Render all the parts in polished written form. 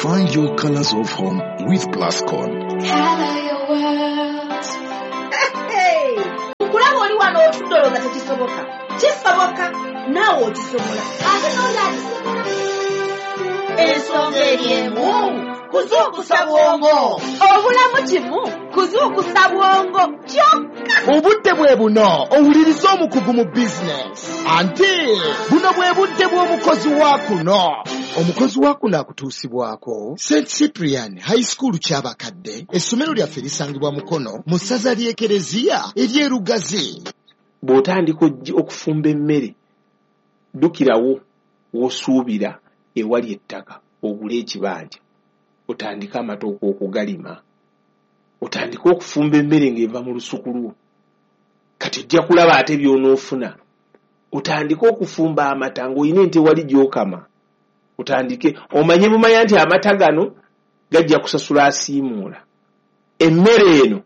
Find your colors of home with Plascon. Color your world. Hey! Nkulaba oli wano otudde olowooza tekisoboka. Kisoboka, naawe okisobola. Ate n'oli akisobola. Ensonga eri emu, kuzuukusa bwongo. Obulamu kimu, kuzuukusa bwongo kyokka. Obudde bwe buno owuliriza omukugu mu bizinesi, anti buno bwe budde bw'omukozi wa kuno. Omukozi wa kuno akutuusibwako St Cyprian High School Kyabakadde. Essomero lyaffe lisangibwa Mukono mu ssaza ly'Ekereziya ery'Erugazi. Bw'otandika okufumba emmere, ddukirawo w'osuubira ewali ettaka ogule ekibanja, otandike amatooke okugalima, otandike okufumba emmere ng'eva mu lusuku lwo. Kati ojja kulaba ate by'onoofuna. Otandike okufumba amata ng'olina ente wali gy'okama, otandike omanye bumanya nti amata gano gajja kusasula asiimuula, emmere eno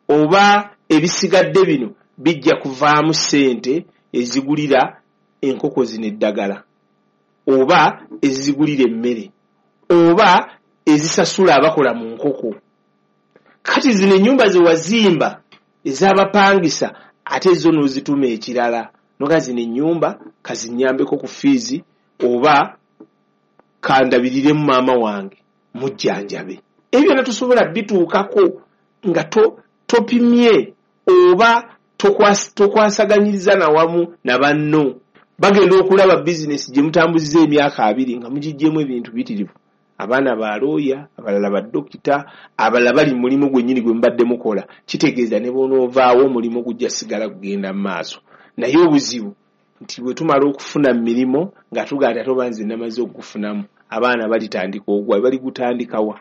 oba ebisigadde bino bijja kuvaamu ssente ezigulira enkoko zino eddagala, oba ezigulira emmere, oba ezisasula abakola mu nkoko. Kati zino ennyumba ze wazimba ez'abapangisa ate zo n'ozituma ekirala, noga zino ennyumba kazinnyambeko ku fiizi oba kandabiriremu maama wange mujjanjabe. Ebyo byonna tosobola bituukako nga topimye oba tokwasaganyiriza na wamu na banno. Bagenda okulaba bizinesi gye mutambuziza emyaka 20 nga mugiggyemu ebintu biyitirivu. Abaana ba looya, abalala ba dokita, abalala bali mu mulimu gwennyini gwe mubadde mukola. Kitegeeza ne bw'onoovaawo omulimu gujja sigala kugenda mu maaso. Naye obuzibu nti bwe tumala okufuna mu mirimu nga tugamba nti ate oba nze namaze okugufunamu, abaana balitandika ogwa, baligutandikawa.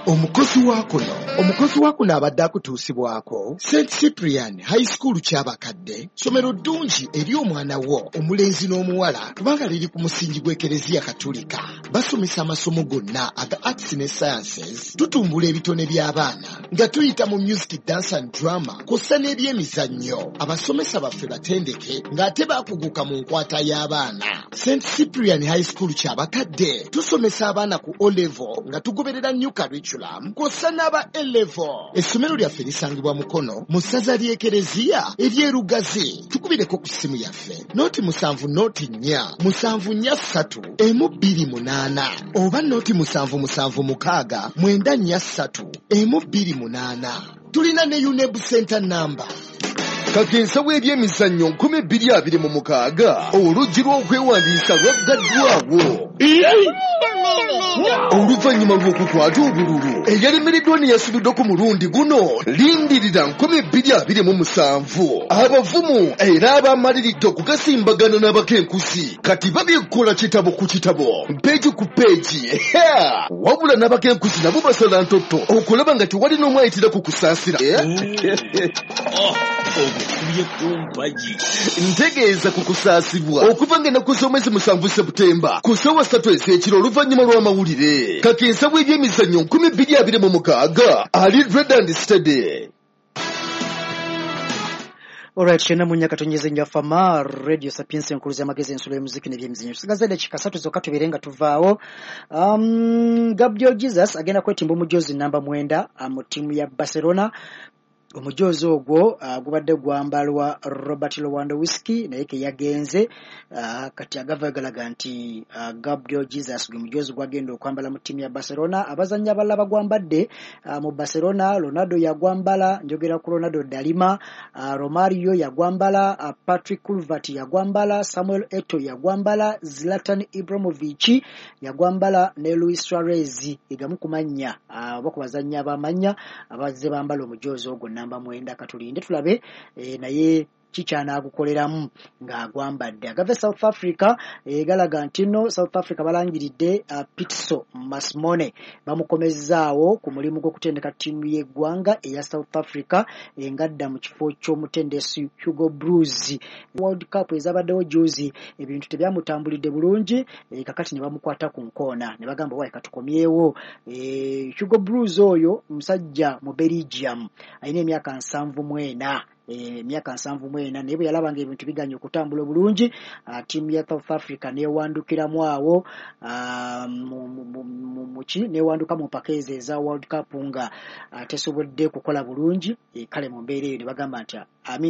Omukozi wa kuno, omukozi wa kuno abadde akutuusibwako St Cyprian High School Kyabakadde, ssomero ddungi eri omwana wo omulenzi n'omuwala kubanga liri ku musingi gw'Ekereziya Katulika. Basomesa amasomo gonna aga arts ne sciences, tutumbula ebitone by'abaana nga tuyita mu music, dance and drama kw'ossa n'ebyemizannyo. Abasomesa baffe batendeke ng'ate baakuguka mu nkwata y'abaana. St Cyprian High School Kyabakadde tusomesa abaana ku O level nga tugoberera new curriculum kw'ossa n'aba A level. Essomero lyaffe lisangibwa Mukono mu ssaza ly'Ekereziya ery'Erugazi. Tukubireko ku ssimu yaffe 070 04 743 128 oba 0776 943 128. Tulina ne UNEB Center number. Kakensa w'ebyemizannyo 2026 oluggi lw'okwewandiisa lwaggaddwawo. Oluvannyuma lw'okukwata obululu eyalemereddwa ne yasubiddwa ku mulundi guno, lindirira 2027. Abavumu era abamaliridde okugasimbagana n'abakenkusi kati babikola kitabo ku kitabo, peegi ku peegi. Wabula n'abakenkusi nabo basala ntotto okulaba nga tewali n'omu ayitira ku kusaasira. Ntegeeza ku kusaasibwa okuva ng'ennaku z'omwezi 7 Seputemba ku ssaawa 3 ez'ekiro oluvannyuma lw'amawulire. Kakensa w'ebyemizannyo 2026 ali red and steady. Alright, kyenda mu nnya katonyeze njafama Radio Sapiens enkuluza amagezi ensulo y'omuziki n'ebyemizannyo. Tusigaza eddakiika 3 zokka tubeere nga tuvaawo. Gabriel Jesus agenda kwetimba omujoozi namba 9 mu ttiimu ya Barcelona. Omujoozi ogwo gubadde gwambalwa Robert Lewandowski naye ke yagenze. Kati agava galaga nti Gabriel Jesus gwe mujoozi gwagenda okwambala mu ttiimu ya Barcelona. Abazannyi abalala bagwambadde mu Barcelona, Ronaldo yagwambala, njogera ku Ronaldo Dalima, Romario yagwambala, Patrick Kluivert yagwambala, Samuel Eto'o yagwambala, Zlatan Ibrahimovic yagwambala ne Luis Suarez. Egamu ku mannya oba ku bazannyi ab'amannya abazze bambala omujoozi ogwo namba 9. Katulinde tulabe naye kikyanaagukoleramu ng'agwambadde. Agava South Africa galaga nti nno South Africa balangiridde Pitso Masmone, bamukomezzaawo ku mulimu gw'okutendeka ttiimu y'eggwanga eya South Africa ngadda mu kifo ky'omutendesi Hugo Broos. World Cup ezabaddewo juzi ebintu tebyamutambulidde bulungi, kakati ne bamukwata ku nkoona ne bagamba wayi katukomyewo. Hugo Broos oyo musajja mu Belgium, alina emyaka 74, emyaka 74, naye bwe yalaba ng'ebintu biganye okutambula obulungi, ttiimu ya South Africa neewandukiramu awo mu ki newanduka mu mpaka ezo eza World Cup nga tesobodde kukola bulungi. Kale mu mbeera eyo ne bagamba nti Amini